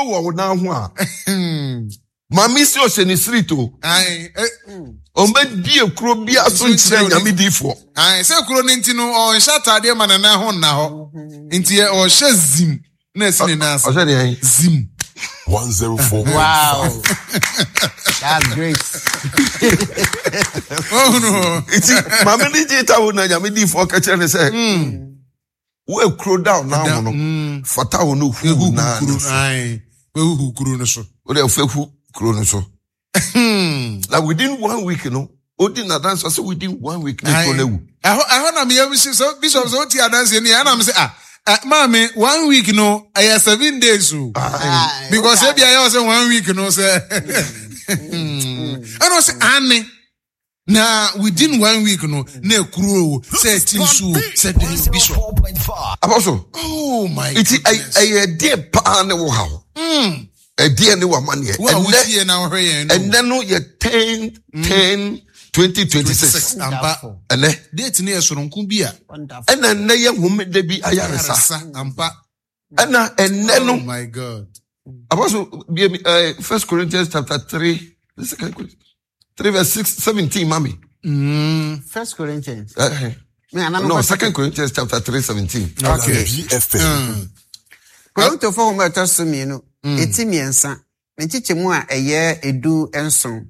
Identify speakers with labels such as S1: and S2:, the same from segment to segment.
S1: wɔ wo nan ho a maame si ɔhyɛ ne sirit o. Ɔmbɛbie kuro biara so nkyerɛ nyame diifoɔ.
S2: Sɛ kuro no nti no ɔnhyɛ ataadeɛ ma ne nan ho nna hɔ nti ɔhyɛ zim na ɛsi ne nan ase.
S1: Ɔhyɛ deɛ
S2: zim.
S3: 104.
S4: Wow. That's great.
S2: Oh no.
S1: Nti maame ne gye ta wo na nyame diifoɔ kɛkyerɛ ne sɛ wo ekuro da wo nan ho no
S2: Mm.
S1: fata wo no hu nan no so.
S2: Wehuhu kuro no so.
S1: Wo deɛ fɛ hu kuro no so. Na within one week no odi n'adanse ɔsɛ within one week ne kuro no awu.
S2: Ɛhɔ ɛhɔ na meyɛ si so bishop sɛ wotie adanseɛ ni ɛna me sɛ ah eh, maame one week no ɛyɛ 7 days o.
S1: Aye.
S2: Because ebi ayɛ ɔsɛ one week no sɛ ɛna ɔsɛ ane na within one week no na ekuro o sɛ ɛti nsu o sɛ den o bishop.
S1: Apostle.
S2: Oh my
S1: Nti
S2: goodness.
S1: ɛyɛ ɛdeɛ paa ne wo haw. Ɛdeɛ ne w'amaneɛ.
S2: Wo a
S1: Ɛnɛ
S2: wotie na wohwɛ yɛn no.
S1: ɛnɛ no yɛ 10/10/2026.
S2: Ampa.
S1: Ɛnɛ
S2: Date no yɛ soronko bi a.
S4: Wonderful.
S1: ɛna ɛnɛ yɛ homeda bi ayaresa.
S2: Ayaresa ampa.
S1: Ɛna ɛnɛ no
S2: Oh my God.
S1: Apostle bie mi First Corinthians chapter 3, Second Corinthians 3 verse 6 17 mami.
S4: First Corinthians. Me, and I'm
S1: No, Second Corinthians chapter 3 17.
S2: Okay.
S3: BFM.
S4: Korintofo nhoma a ɛtɔ so mmienu, eti mmiɛnsa, ne nkyekyɛmu a ɛyɛ 17.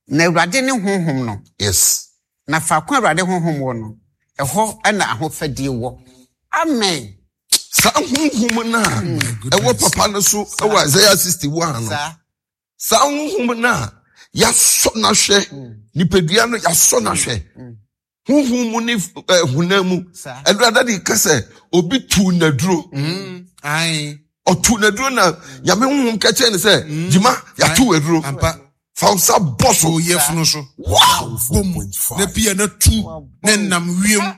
S4: Na Awurade ne honhom no, na faako a Awurade honhom wɔ no, ɛhɔ na ahofadie wɔ. Amen.
S1: Saa honhom no a ɛwɔ papa no so ɛwɔ Isaiah 61 no. Saa honhom no a yɛasɔ no ahwɛ, nipadua no yɛasɔ no ahwɛ. Honhom mu ne honam mu. Ɛno de ka sɛ obi tuu n'aduro. Ɔtuu n'aduro na Nyame honhom ka kyerɛ no sɛ, Gyima, yɛato aduro. Fa wo nsa bɔ so.
S2: Oyɛfunu so.
S1: Wow!
S2: Bom na pia na tu na nam wiem.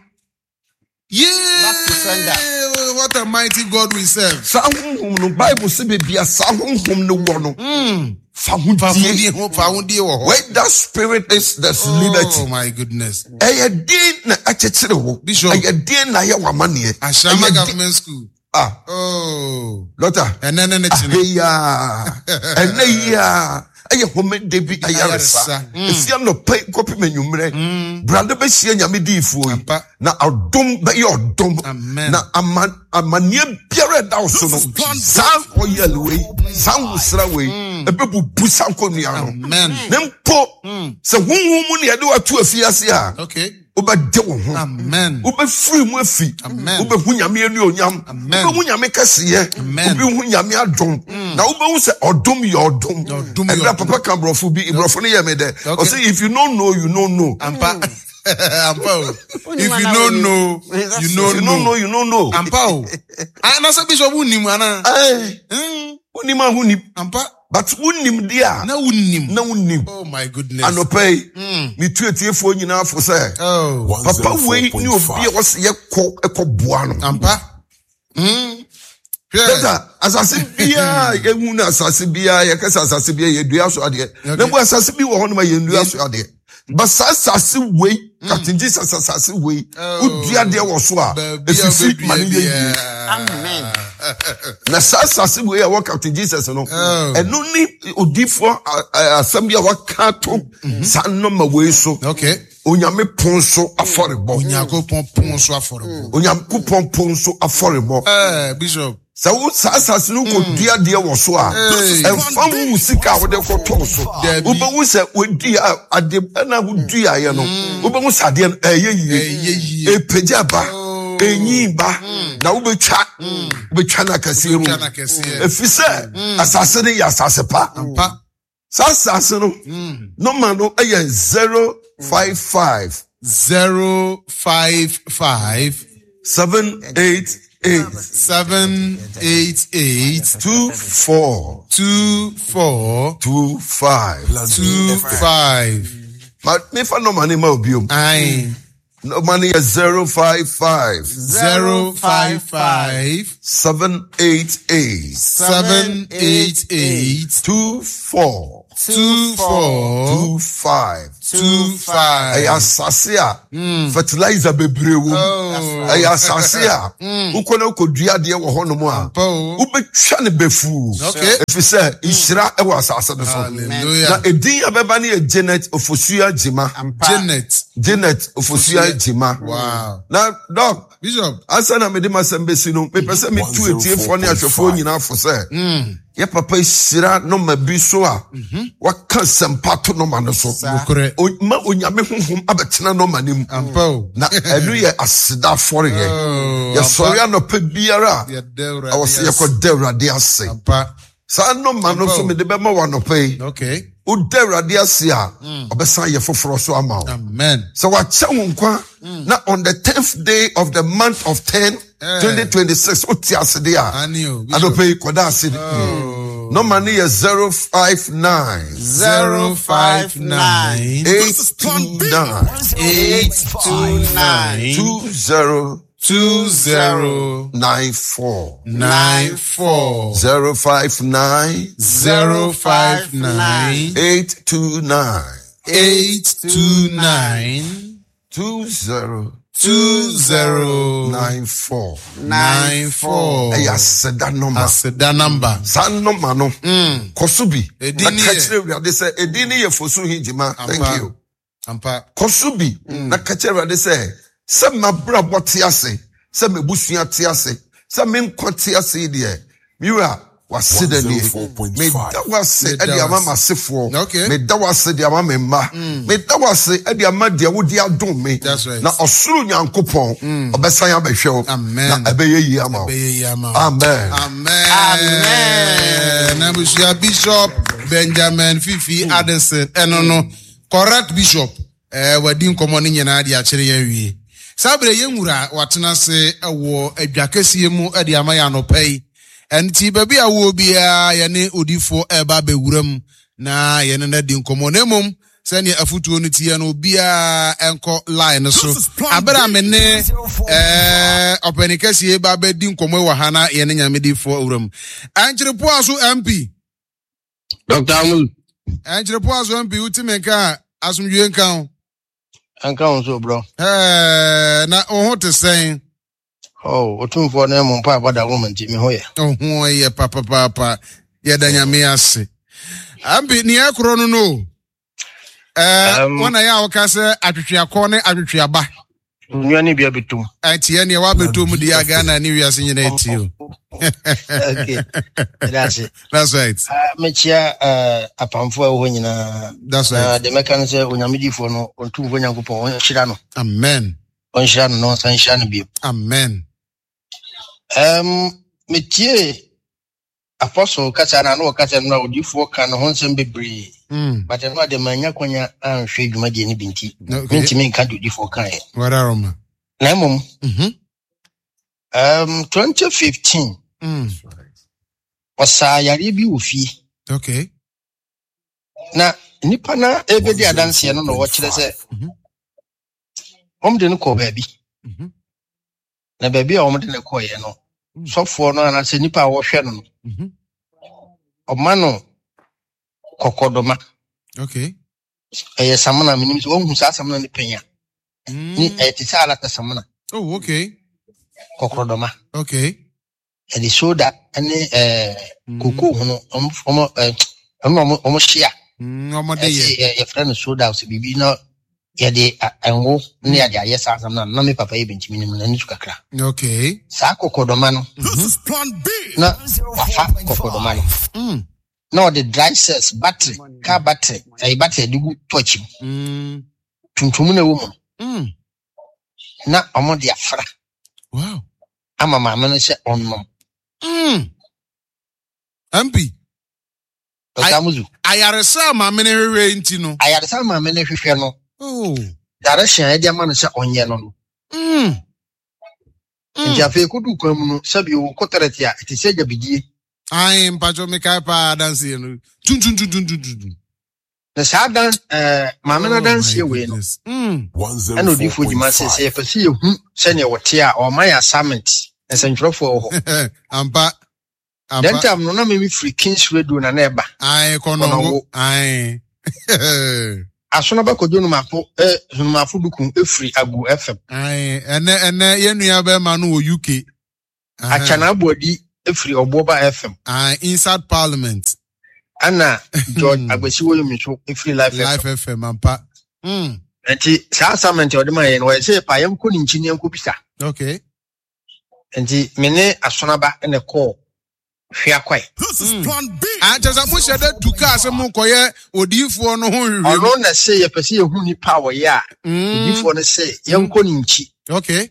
S4: Back to sender.
S2: Yeah, what a mighty God we serve.
S1: Saa honhom no, Bible sɛ baabi a saa honhom no wɔ no, fa ho
S2: Fa
S1: die.
S2: hodie ho fa hodie wɔ hɔ.
S1: Where that spirit is, there's liberty.
S2: Oh my goodness.
S1: Ɛyɛ den na akyekyere wo.
S2: Bishop.
S1: Ɛyɛ den na ayɛ w'amanneɛ.
S2: Ashama
S1: Ɛyɛ den-
S2: Government School.
S1: Ah,
S2: Oh.
S1: Doctor.
S2: Ɛnɛ ne ne kyene.
S1: Aheya. Ɛnɛ yi a ɛyɛ homeda bi ayaresa.
S2: Ayaresa.
S1: Efi anɔpa yi kɔpem anwummerɛ. Brade bɛhyia Nyame diifoɔ yi.
S2: Ampa.
S1: Na ɔdom bɛyɛ ɔdom.
S2: Amen.
S1: Na ama amanneɛ biara ɛda wo so no, saa oil wei, saa nwosra wei, ɛbɛbubu saa nkonnua no.
S2: Amen.
S1: Ne mpo sɛ honhom mu ne yɛde wato afiase a, wobɛde wo ho.
S2: Amen.
S1: Wobɛfiri mu afi.
S2: Amen.
S1: Wobɛhu Nyame anuonyam.
S2: Amen.
S1: Wobɛhu Nyame kɛseyɛ.
S2: Amen.
S1: Wobɛhu Nyame adom. Na wobɛhu sɛ ɔdom yɛ ɔdom.
S2: Ɔdom yɛ
S1: Ɛberɛ a
S2: ɔdom.
S1: papa ka borɔfo bi, borɔfo no yɛ me dɛ. Ɔse if you don't know, you don't know.
S2: Ampa. Ampa o. If you don't know, you
S1: If you
S2: don't
S1: don't know,
S2: know.
S1: you don't know.
S2: Ampa o. Anase bishop wonim ana?
S1: Wonim a wonim.
S2: Ampa.
S1: But wonim deɛ a.
S2: Na wonim.
S1: Na wonim.
S2: Oh my goodness.
S1: Anɔpa yi, metu atiefoɔ nyinaa fo sɛ,
S2: Oh.
S1: papa wei ne obi a wɔsɛ yɛkɔ ɛkɔboa no.
S2: Ampa. Hwɛ.
S1: Dada, asase biara yɛhu no asase biara yɛka sɛ asase biara yɛdua so adeɛ. Na mpo asase bi wɔ hɔ nom a yɛndua so adeɛ. But saa asase wei, Captain Jesus asase wei, wodua adeɛ wɔ so a,
S2: Baabi a
S1: ɛfifi ma no
S2: wobɛdua
S1: yɛ yie.
S2: biara.
S4: Amen.
S1: Na saa asase wei a ɛwɔ Captain Jesus no, ɛno ne odiifoɔ asɛm bi a waka ato saa nɔma wei so. Onyame pon so afɔrebɔ.
S2: Onyankopɔn pon so afɔrebɔ.
S1: Onyankopɔn pon so afɔrebɔ.
S2: Bishop.
S1: Sɛ wo saa asase no kɔdua deɛ wɔ so a, ɛmfa ho wo sika a wode kɔtɔɔ so. Wobɛhu sɛ wodua ade ɛna woduaeɛ no, wobɛhu sɛ adeɛ no ɛyɛ yie. Ɛpagya ba, ɛnyin ba, na wobɛtwa, wobɛtwa no akɛseɛ mu. Ɛfiri sɛ asase no yɛ asase pa. Saa asase no, nɔma no yɛ 055.
S2: 055.
S1: 788.
S2: 788.
S1: 24.
S2: 24.
S1: 25.
S2: 25.
S1: Ma mefa nɔma no ma obiom.
S2: Aye.
S1: Nɔma no yɛ 055.
S2: 055.
S1: 788.
S2: 788.
S1: 24.
S2: 24
S1: 25.
S2: 25.
S1: Ɛyɛ asase a fertilizer bebree wɔ mu.
S2: Oh.
S1: Ɛyɛ asase a wokɔ na wokɔdua adeɛ wɔ hɔnom a
S2: Ampa o.
S1: wobɛtwa no bɛfuu.
S2: Okay.
S1: Ɛfiri sɛ nhyira wɔ asase no so.
S2: Hallelujah.
S1: Na edin a bɛba no yɛ Janet Ofosua Gyima.
S4: Ampa.
S2: Janet.
S1: Janet Ofosua Gyima.
S2: Wow.
S1: Na Doc,
S2: Bishop.
S1: ansa na mede m'asɛm bɛsi no, mepɛ sɛ metu atiefoɔ ne ahwɛfoɔ nyinaa fo sɛ yɛ papa hyira nɔma bi so a waka sɛmpa to nɔma no so.
S2: Nokorɛ.
S1: Ma Onyame honhom abɛtena nɔma no mu.
S2: Ampa o.
S1: Na ɛno yɛ aseda afɔreɛ.
S2: Oh,
S1: Yɛsɔre
S2: ampa.
S1: anɔpa biara a,
S2: Yɛda Awurade
S1: ɛwɔ sɛ
S2: ase.
S1: yɛkɔda Awurade ase.
S2: Ampa.
S1: Saa nɔma no nso mede bɛma wo anɔpa yi.
S2: Okay.
S1: Woda Awurade ase a, ɔbɛsan yɛ foforɔ so ama wo.
S2: Amen.
S1: Sɛ wakyɛ wo nkwa na on the 10th day of the month of 10, 2026, wote ase de a,
S2: Ani o, Bishop.
S1: anɔpa yi kɔda ase.
S2: Oh.
S1: Nɔma no yɛ 059
S2: 059
S1: 829
S2: 829
S1: 20
S2: 20
S1: 94
S2: 94
S1: 059
S2: 059
S1: 829
S2: 829
S1: 20
S2: 20
S1: 94.
S2: 94.
S1: Ɛyɛ aseda nɔma.
S2: Aseda number.
S1: Saa nɔma no, kɔ so bi.
S2: Edin
S1: Na
S2: ne
S1: ka
S2: yɛ-
S1: kyerɛ Awurade sɛ edin ne yɛ Fosu Hingyima. Thank
S2: Ampa.
S1: you.
S2: Ampa.
S1: Kɔ so bi na ka kyerɛ Awurade sɛ sɛ m'abrabɔ te ase, sɛ m'abusua te ase, sɛ me nkwa te ase yi deɛ, me wura, w'aseda nie.
S3: 104.5.
S1: Meda wo ase
S2: Meda
S1: de
S2: wo
S1: ama
S2: ase.
S1: m'asefoɔ.
S2: Okay.
S1: Meda wo ase de ama me mma. Meda wo ase de ama deɛ wode adom me.
S2: That's right.
S1: Na ɔsoro Nyankopɔn, ɔbɛsan abɛhwɛ wo.
S2: Amen.
S1: Na ɛbɛyɛ yie ama wo.
S2: Ɛbɛyɛ yie ama wo.
S1: Amen.
S2: Amen. Amen. Abusua Bishop Benjamin Fifi Addison ɛno no correct bishop ɛɛ wadi nkɔmɔ ne nyinaa de akyerɛ yɛn wie. Saa bere yɛn wura watena ase wɔ adwa kɛseɛ mu de ama yɛn anɔpa yi. Ɛnti baabi a wɔ biara yɛne odifoɔ ɛreba abɛwura mu na yɛne no adi nkɔmɔ. Na mmom sɛnea afutuo no teɛ no obiara nkɔ line no so. Abere a me ne ɛɛ ɔpanin kɛseɛ ba abɛdi nkɔmɔ wɔ ha na yɛne nyamedifoɔ awura mu. Ɛnkyerɛpoa so MP.
S5: Dr. Amul.
S2: Ɛnkyerɛpoa so MP wotumi nka a asomdwie nka ho.
S5: Nka ho so bro.
S2: Ɛɛ na wo ho te sɛn?
S5: Oh, otumfoɔ no mu mpa abɔda wo nti me ho yɛ.
S2: Wo ho yɛ papapaapa. Yɛda Nyame ase. Ampi nea ɛkorɔ no no. Ɛɛ wɔn na yɛ a wɔka sɛ atwetweakɔ ne atwetweaba.
S5: Nua ne bia bɛtum.
S2: Ɛteɛ neɛ wabɛtum deɛ a Ghana ne wiase nyina ɛtie o.
S5: Okay. That's it.
S2: That's right.
S5: Mekyia apamfo a ɛwɔ hɔ nyinaa.
S2: That's right.
S5: Deɛ mɛka no sɛ onyamedifoɔ no ɔntumfoɔ Nyankopɔn ɔnhyira no.
S2: Amen.
S5: Ɔnhyira no na ɔnsan nhyira no bio.
S2: Amen.
S5: Metie Apostle kasa na na ɔkasa no na odiyifoɔ ka ne ho nsɛm bebree. But ɛno ade manya kwanya anhwɛ dwumadie no bi nti.
S2: Okay.
S5: Mentumi nka deɛ odiyifoɔ kaeɛ.
S2: Wadaroma.
S5: Na mmom, 2015 ɔsaa yareɛ bi wɔ fie.
S2: Okay.
S5: Na nipa na ebedi adanseɛ no na wɔkyerɛ sɛ wɔn de no kɔɔ baabi. Na baabi a wɔn de no kɔɔeɛ no, sɔfoɔ no anaasɛ nipa a wɔhwɛ no no, ɔma no kɔkɔdɔma.
S2: Okay.
S5: Ɛyɛ samina, menim sɛ wɔn hu saa samina no pɛn a. Ni ɛyɛ te sɛ alata samina.
S2: Oh, okay.
S5: Kɔkɔdɔma.
S2: Okay.
S5: Ɛde soda ne koko ho no, ɔmo ɔmo ɔmo hyia.
S2: Ɔmo de yɛ.
S5: Yɛfrɛ no soda sɛ biribi na yɛde ngo ne yɛde ayɛ saa asɛm no na me papa yɛ bɛntumi no mu n'ani so kakra.
S2: Okay.
S5: Saa kɔkɔdɔma no. Na wafa kɔkɔdɔma no. Na ɔde dry cells battery car battery ɛyɛ battery de gu torch mu. Tuntum na ɛwɔ mu no. Na ɔmo de afra.
S2: Wow.
S5: Ama maame no sɛ ɔnnom.
S2: MP.
S5: Dr. Amuzu.
S2: Ayaresa maame no hwehwɛ nti no.
S5: Ayaresa maame no hwehwɛ no.
S2: Oh.
S5: Direction a yɛde ama no sɛ ɔnyɛ no no. Nti afei kodu kwan mu no sɛbi wo kɔtɛrɛte a ɛte sɛ gyabidie.
S2: Ayi mpatwɔ mekae paa adanseɛ no. Tuntuntuntuntuntun.
S5: Na saa dan maame no adanseɛ wei no. Ɛna odiifoɔ gyima sɛ sɛ yɛpɛ sɛ yɛhu sɛnea wɔte a ɔma yɛ assignment nsɛntwerɛfoɔ wɔ hɔ.
S2: Ampa.
S5: Then time no na me firi Kings Radio na na ɛba.
S2: Ae kɔnɔngo. Ae.
S5: Asono bɛ kɔdwo nomafo eh, nomafo duku efiri Agu FM.
S2: Ae ɛnɛ ɛnɛ yɛn nua bɛrima no wɔ UK.
S5: Akyana Aboadi efiri Ɔboɔba FM.
S2: Ae inside parliament.
S5: Ɛna George Agbesi Woyomi nso efiri Life FM.
S2: Life FM ampa. Mm.
S5: Nti saa assignment a ɔde ma yɛn no wɔyɛ sɛ yɛpa yɛn kɔ ne nkyi ne yɛn kɔ bisa.
S2: Okay.
S5: Nti me ne Asonaba na ɛkɔɔ Hweakwae.
S2: Ah, kyerɛ sɛ mohyɛ da tu kaa sɛ mokɔyɛ odiyifoɔ no ho nhwehwɛmu.
S5: Ɔno na se yɛpɛ sɛ yɛhu nipa a ɔyɛ a, odiyifoɔ no se yɛnkɔ ne nkyi.
S2: Okay.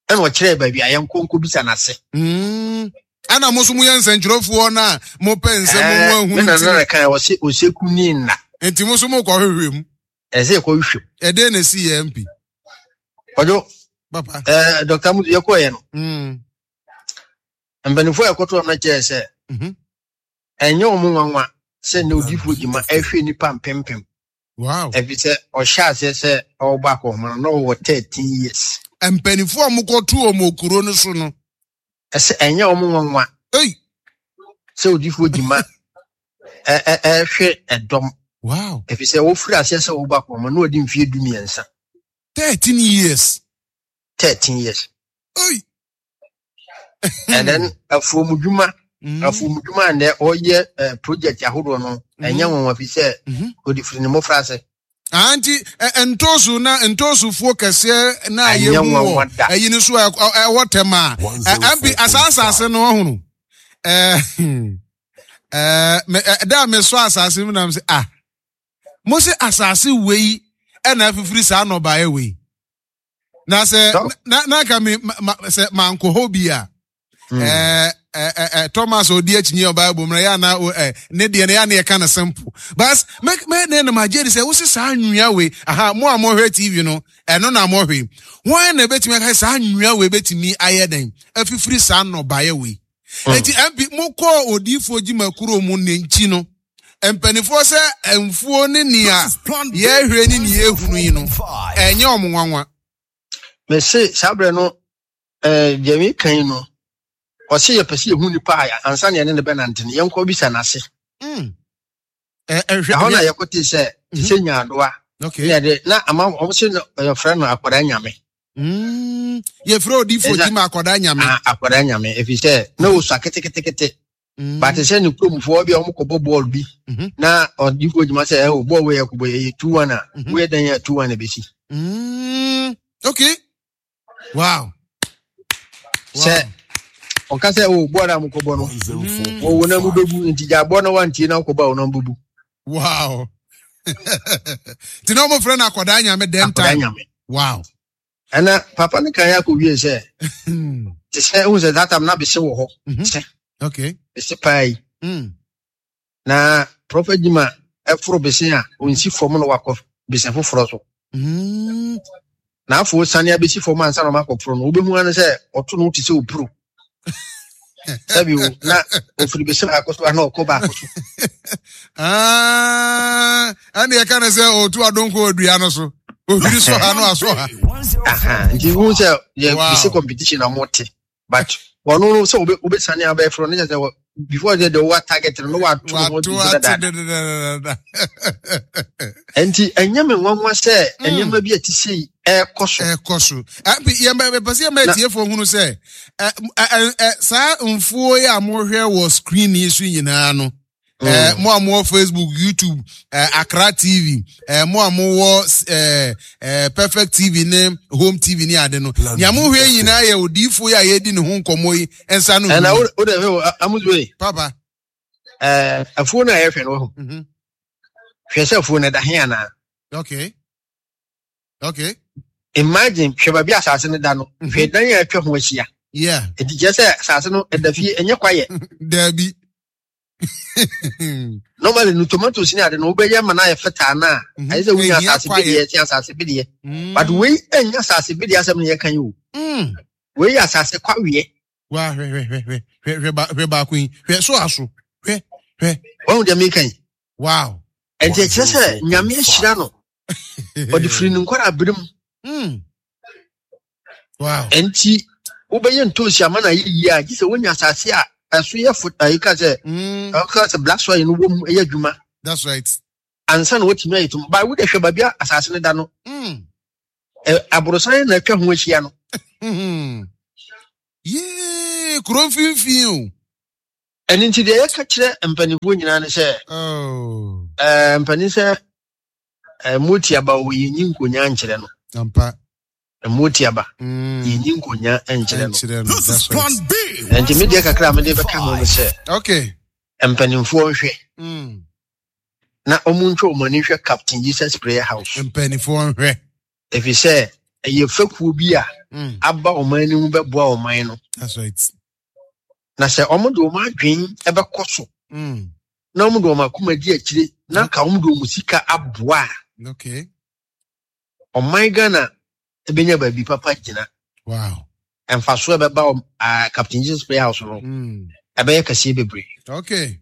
S5: Ɛna ɔkyerɛɛ baabi a yɛnkɔ nkɔbisa n'ase.
S2: Ɛna mo nso moyɛ nsɛnkyerɛfoɔ no a mopɛ nsɛm mu ahunu.
S5: Me nana na kan ɔse oseku ni nna.
S2: Nti mo nso mokɔhwehwɛ mu.
S5: Ɛsɛ yɛkɔhwehwɛ mu.
S2: Ɛdɛn na ɛsi yɛ MP?
S5: Ɔdwo.
S2: Papa.
S5: Ɛɛ Dr. Mutu yɛkɔɔyɛ no. Mpanimfoɔ a yɛkɔtoo no kyerɛɛ sɛ ɛnyɛ wɔn nwanwa sɛ nnɛ odiyifoɔ gyima ɛhwɛ nnipa mpempem.
S2: Wow.
S5: Ɛfiri sɛ ɔhyɛ aseɛ sɛ ɔrebɔ akɔnhoma no na ɔwɔ 13 years.
S2: Mpanimfoɔ a wɔkɔto wɔn wɔ kuro no so no.
S5: Ɛsɛ ɛnyɛ wɔn nwanwa.
S2: Ei.
S5: Sɛ odiyifoɔ gyima ɛhwɛ ɛdɔm.
S2: Wow.
S5: Ɛfiri sɛ wɔfiri aseɛ sɛ ɔrebɔ akɔnhoma no na ɔdi mfeɛ 13.
S2: 13 years.
S5: 13 years.
S2: Ei.
S5: And then afuomudwuma afuomudwuma a nnɛ ɔyɛ eh, project ahodoɔ no ɛnyɛ nwanwa fi sɛ ɔde firi ne mmɔfra ase.
S2: Nti ntoosu na ntoosufoɔ kɛseɛ na
S5: Ɛnyɛ
S2: yɛhu wɔ
S5: nwanwa da.
S2: ɛyi no so a ɛwɔ tɛm a ɛmpi asaa asase no ɔhono ɛɛ da a mesɔ asase mu nam sɛ ah mo se asase wei ɛna afifiri saa nnɔbaeɛ wei na sɛ na na nka me ma sɛ mankɔ hɔ bi a hmm. ɛɛ ɛɛ Thomas odi akyinnye wɔ Bible mu na yɛ ana ɛ ne deɛ no yɛ ana yɛka no simple but me me ne no ma gye di sɛ wosi saa nwia wei aha mo a mohwɛ TV no ɛno na mohwɛ wɔn na ebetumi aka saa nwia wei betumi ayɛ dɛn afifiri saa nnɔbaeɛ wei hmm. eti mp mokɔɔ odiifoɔ gyima kuro mu ne nkyi no mpanimfoɔ sɛ mfuo ne nea yɛhwɛ ne nea yɛhunu yi no ɛnyɛ wɔn nwanwa.
S5: Mese saa berɛ no eh, deɛ meka yi no ɔse yɛpɛ sɛ yɛhu nipa a ansa ne yɛne ne bɛnante no yɛnkɔ bisa n'ase
S2: hmm.
S5: ɛhɔ na yɛkɔte sɛ te sɛ mhm. nyaadoa ne yɛde na ama wɔn se yɛfrɛ no akwadaa nyame
S2: hmm. yɛfrɛ odifoɔ gyima akwadaa nyame
S5: ah, akwadaa nyame ɛfiri sɛ na ɔsua ketekete Mm. But sɛ ne kuromfoɔ bi a wɔkɔbɔ bɔɔl bi mhm. na ɔde kɔ adwuma sɛ ɛwɔ bɔɔl wei ɛkɔbɔ yɛ 2-1 a mhm. woyɛ dɛn yɛ 2-1 ɛbɛsi.
S2: Mm. Okay. Wow.
S5: Sɛ ɔka sɛ o bɔɔl a mokɔbɔ no wɔwɔ na mobɛbu nti gya bɔɔl na wantie na wokɔbɔ a wo na mobɛbu.
S2: Wow. Nti na wɔfrɛ no akɔdaa nyame dɛn time.
S5: Akɔdaa nyame.
S2: Wow.
S5: Ɛna papa no kan akɔwie sɛ te sɛ wohu sɛ that time na bese wɔ hɔ
S2: mhm.
S5: sɛ
S2: okay.
S5: bese paa yi
S2: mm.
S5: na prɔfɛt gyima ɛforo bese a ɔnsi fam na wakɔ bese foforɔ so
S2: mm.
S5: na afo sane abɛsi fam ansa na ɔmakɔforo no wobɛhu ano sɛ ɔto no te sɛ ɔpuro sɛbi o na ofiri bese baako so ana ɔkɔ baako so
S2: ah, ɛne ɛka ne sɛ ɔtu adonko adua no so ohwiri sɔ ha no asɔ ha
S5: nti hu sɛ yɛ bese competition na mote but ɔno no sɛ wobɛsane abɛforo no kyɛ sɛ before sɛ de wa target no na wato ho
S2: dadaada
S5: nti ɛnyɛ me nwanwa sɛ hmm. nneɛma bi a ɛte sei ɛrekɔ so
S2: ɛrekɔ so yɛpɛ sɛ yɛma atiefoɔ hunu sɛ saa mfuo yi a mohwɛ wɔ screen yi so nyinaa no Eh, mo a mowɔ facebook youtube eh, accra tv eh, mo a mowɔ eh, eh, perfect tv ne home tv ne ade no nea mohwɛ nyinaa yɛ odiyifoɔ yi a yɛdi ne ho nkɔmmɔ yi nsa no
S5: ɛna wode hwɛ amuzuei
S2: papa
S5: eh, afuo no a yɛhwɛ no wahu
S2: mhm.
S5: hwɛ sɛ afuo no ɛda he anaa
S2: okay okay
S5: imagine hwɛ baabi asase no da no mhm. hwɛ dan a atwa ho ahyia
S2: yeah
S5: ɛti kyerɛ sɛ asase no ɛda fie ɛnyɛ kwayɛ
S2: daabi
S5: normally no tomatoes ne ade no wobɛyɛ ma no ayɛ fertile no a mhm. ayɛ sɛ wonya asase bedeɛ ɛte asase bedeɛ mm. but wei ɛnyɛ asase bedeɛ asɛm no yɛka yi o
S2: mm.
S5: wei yɛ asase kwaweɛ
S2: wa hwɛ hwɛ hwɛ hwɛ hwɛ hwɛ baako yi hwɛ so aso hwɛ hwɛ
S5: wɔn deɛ meka yi
S2: wow
S5: ɛnti ɛkyerɛ sɛ nyame ahyira no ɔde firi ne nkwara abere mu
S2: mm. wow
S5: ɛnti wobɛyɛ ntoosi ama no ayɛ yie a gye sɛ wonya asase a Ɛso yɛ fo ayi ka sɛ ɔka sɛ black soil no wɔ mu ɛyɛ adwuma.
S2: That's right.
S5: Ansa na wɔtumi ayɛ tum ba wode hwɛ baabi a asase no da no. Aborosan na atwa ho ahyia no.
S2: Yee, kuro mfimfini o.
S5: Ɛno nti deɛ yɛka kyerɛ mpanimfoɔ nyinaa ne sɛ
S2: oh.
S5: mpanin sɛ moti aba wɔ yɛnyi nkonya nkyerɛ no.
S2: Ampa.
S5: Moti aba yɛnyi nkonya nkyerɛ no.
S2: Nkyerɛ no. That's right.
S5: Nti me deɛ kakra a mede bɛka ho ne sɛ
S2: okay.
S5: mpanimfoɔ nhwɛ na wɔn ntwa wɔn ani nhwɛ Captain Jesus Prayer House.
S2: Mpanimfoɔ nhwɛ.
S5: Ɛfiri sɛ ɛyɛ fekuo bi a aba ɔman no mu bɛboa ɔman no.
S2: That's right.
S5: Na sɛ wɔn de wɔn adwene bɛkɔ so na wɔn de wɔn akoma di akyire na ka wɔn de wɔn sika aboa
S2: a. Okay.
S5: Ɔman Ghana bɛnya baabi papa gyina.
S2: Wow.
S5: Mfasoɔ ɛbɛba uh, Captain Jesus Prayer House no ɛbɛyɛ kɛseɛ bebree.
S2: Okay.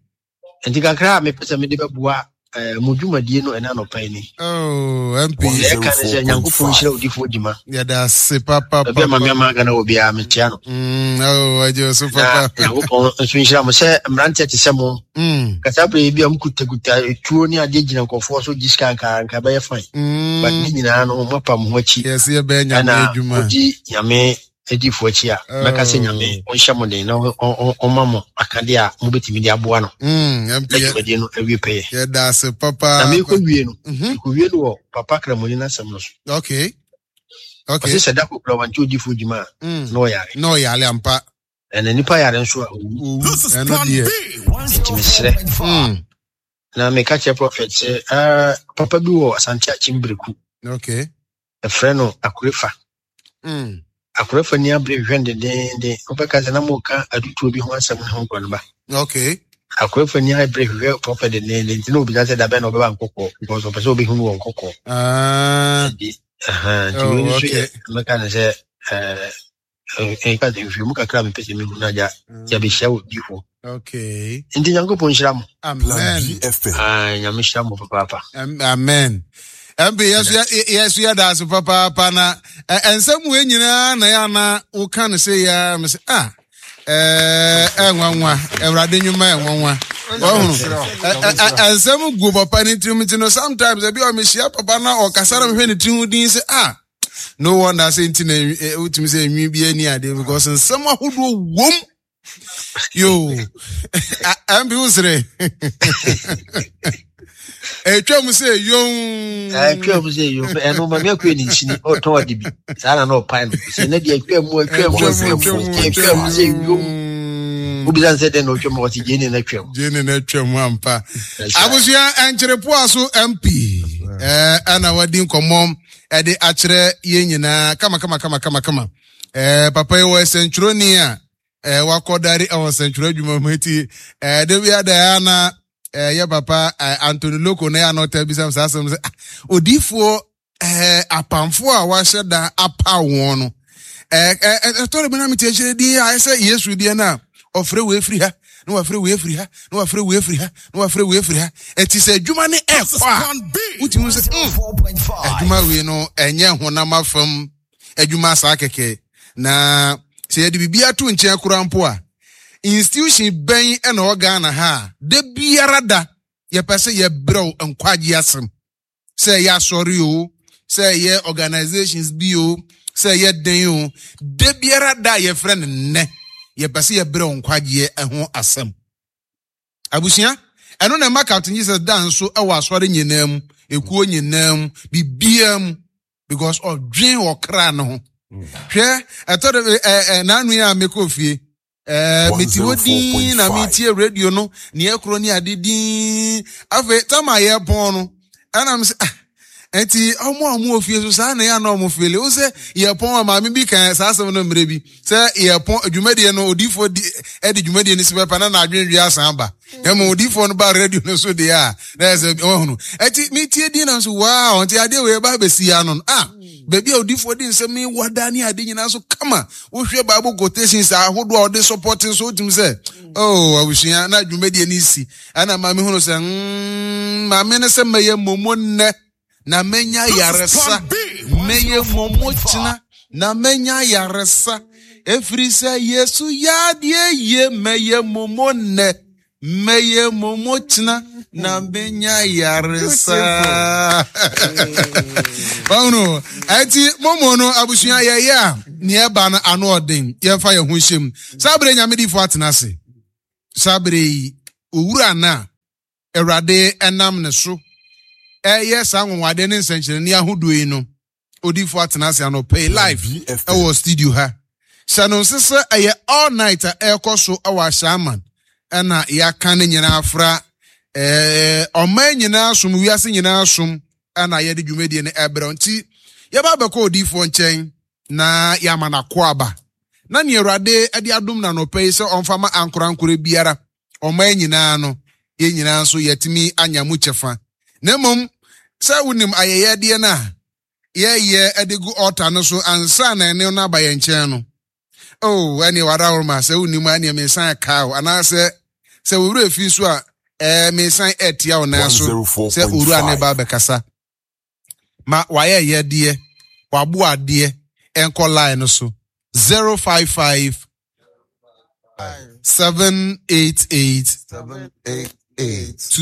S5: Nti kakra a mepɛ sɛ mede bɛboa eh, mo dwumadie no ɛna anɔpa yi ni.
S2: Oh, MP.
S5: Deɛ ɛka ne sɛ Nyankopɔn nhyira odifoɔ gyima.
S2: Yɛda ase papa.
S5: Baabi a mame ama Ghana wɔ biara mekyea no.
S2: Oh, agye so papa.
S5: Na Nyankopɔn nso nhyira mo sɛ mmeranteɛ te sɛ mo. Kasa bere bi a mokutakuta tuo ne adeɛ gyina nkurɔfoɔ so gye sika nka nka bɛyɛ fine. But ne nyinaa no moapa mo ho akyi.
S2: Yɛsɛ yɛbɛyɛ nyame adwuma.
S5: Ɛna modi nyame adiyifoɔ akyi a, mɛka sɛ Nyame ɔnhyɛ mo den na ɔma mo akadeɛ a mobɛtumi de aboa no na dwumadie no awie pɛyɛ.
S2: Yɛda ase papa.
S5: Na mekɔ wie no, mekɔ wie no wɔ Papa Kramoni n'asɛm no so.
S2: Okay. Okay.
S5: Ɔse sɛ da kokora wante odiyifoɔ dwuma a, na ɔyare.
S2: Na ɔyare ampa.
S5: Ɛna nipa yare nso a owu.
S2: Owu. Ɛno deɛ.
S5: Nti mesrɛ. Na meka kyerɛ prɔfɛt sɛ, ah, papa bi wɔ Asante Akyem Bereku.
S2: Okay.
S5: Ɛfrɛ no Akorefa. Akorefa ni abere hwehwɛ no dendeenden. Wobɛka sɛ na moka adutoɔ bi ho asɛm ne ho nkɔ no ba.
S2: Okay.
S5: Akorefa ni abere hwehwɛ prɔfɛt dendeenden nti na obisa sɛ dabɛn na ɔbɛba nkɔkɔɔ because ɔpɛ sɛ ɔbɛhu no wɔ nkɔkɔɔ.
S2: Ah.
S5: Nti, nti wei nso yɛ mɛka no sɛ ɛɛ nka sɛ nhwehwɛmu kakra a mepɛ sɛ mehu no agya yɛbɛhyia wɔ bi hɔ.
S2: Okay.
S5: Nti Nyankopɔn nhyira mo.
S2: Amen.
S5: Ah, Nyame hyira mo papaapa.
S2: Amen. MP yɛso yɛda ase papaapa na nsɛm wei nyinaa na yɛ ana woka no sɛ yɛ me sɛ ah ɛnwanwa awurade nnwuma ɛnwanwa ɔhunu nsɛm gu papa ne tirim nti no sometimes ebi a mehyia papa na ɔkasa na mehwɛ ne tiri ho din sɛ ah no wonder sɛ nti na wotumi sɛ nwi bi ani adeɛ because nsɛm ahodoɔ wom yo mp wo sere ɛtwa mu sɛ yom
S5: ɛtwa mu sɛ yom ɛno ma meakue ne nhyini ɔtɔn ade bi saa na na ɔpae no sɛ na deɛ ɛtwa mu ɛtwa mu ɛtwa mu ɛtwa mu sɛ yom wobisa sɛ dɛn na ɔtwa mu ɔte gyene na atwa mu
S2: gyene na atwa mu ampa abusua ɛnkyerepoa so mp ɛna wadi nkɔmmɔ ɛde akyerɛ yɛn nyinaa kama kama kama kama kama ɛɛ papa yi wɔ sɛntwerɛni a ɛɛ wakɔdare ɛwɔ sɛntwerɛ adwuma mu eti ɛɛ de bi ada ya na ɛɛ yɛ papa ɛɛ Anthony Loko na yɛ anɔta bisa saa asɛm sɛ ah odiifoɔ ɛɛ apamfoɔ a wahyɛ da apa wɔn no ɛɛ ɛɛ ɛtɔ de bi na mi te akyire din a ɛsɛ Yesu deɛ na ɔfrɛ wei firi ha na wafrɛ wei afiri ha na wafrɛ wei afiri ha na wafrɛ wei afiri ha ɛti sɛ adwuma ne ɛkɔ a wotumi sɛ adwuma wei no ɛnyɛ honam afam adwuma saa kɛkɛ na sɛ yɛde biribi ato nkyɛn koraa mpo a institution bɛn ɛna ɔwɔ Ghana ha a da biara da yɛpɛ sɛ yɛbrɛw nkwagye asɛm sɛ ɛyɛ asɔre o sɛ ɛyɛ organizations bi o sɛ ɛyɛ den o da biara da a yɛfrɛ no nnɛ yɛpɛ sɛ yɛbrɛ wo nkwagyeɛ ho asɛm abusua ɛno na ɛma Captain Jesus da nso ɛwɔ asɔre nyinaa mu ekuo nyinaa mu biribiara mu because ɔdwen ɔkra no ho hwɛ ɛtɔ de ɛ ɛ n'ano yi a mekɔ fie ɛɛ mete hɔ din na metie radio no nea ɛkorɔ ne ade din afei tam a yɛpɔn no ɛna me sɛ ah nti ɔmo a ɔmo wɔ fie so saa na yɛ ana ɔmo fele wo sɛ yɛpɔn a maame bi kan saa asɛm no mmerɛ bi sɛ yɛpɔn dwumadie no odiifoɔ di ɛde dwumadie no si pɛpɛ na n'adwendwe asan aba na mmom odiifoɔ no ba radio no so deɛ a na yɛ sɛ ɔhunu ɛti metie din na nso waa ɔnti adeɛ wei ɛba abɛsi ano no ah baabi a odiifoɔ de nsɛm yi wada ne ade nyinaa so kama wohwɛ bible quotations ahodoɔ a ɔde support nso wotumi sɛ oh abusua na dwumadie no si ɛna maame hunu sɛ mm, maame no sɛ mɛyɛ momo nnɛ na mɛnya yaresa mɛyɛ momo kyena na mɛnya yaresa. Ɛfiri sɛ Yesu yɛ adeɛ yie mɛyɛ momo nnɛ mɛyɛ momo kyena na menya yaresa. Wahunu ɛnti momo no abusua yɛyɛ a nea ɛba no ano ɔden yɛmfa yɛn ho nhyɛ mu. Saa bere nyame difo atena ase. Saa bere yi owura no a Awurade nam ne so ɛyɛ saa anwanwadeɛ ne nsɛnkyerɛnne ahodoɔ yi no odifo atena ase anɔpa yi live ɛwɔ studio ha hyɛ no nse sɛ ɛyɛ all night a ɛrekɔ so ɛwɔ ahyɛaman ɛna yɛaka ne nyinaa afra ɛɛ ɔman nyinaa som wiase nyinaa som ɛna yɛde dwumadie no ɛbrɛ nti yɛba abɛkɔ odifoɔ nkyɛn na yɛama no akɔ aba na nea awurade de adom no anɔpa yi sɛ ɔmfa ma ankorankora biara ɔman nyinaa no, yɛn nyinaa nso yɛatumi anya mu kyɛfa. Na mmom, sɛ wonim ayɛyɛdeɛ no a yɛyɛ de gu ɔlta no so ansa na ɛne no aba yɛn nkyɛn no, oh, ɛneɛ wadaworoma, sɛ wonim a ɛneɛ mesan kaa wo, anaasɛ sɛ wo werɛ fi nso a, ɛɛ mesan ɛtia wo nan so sɛ owura ne ba abɛkasa. Ma wayɛyɛdeɛ, waboadeɛ ɛnkɔ line no so 055 788
S1: 788.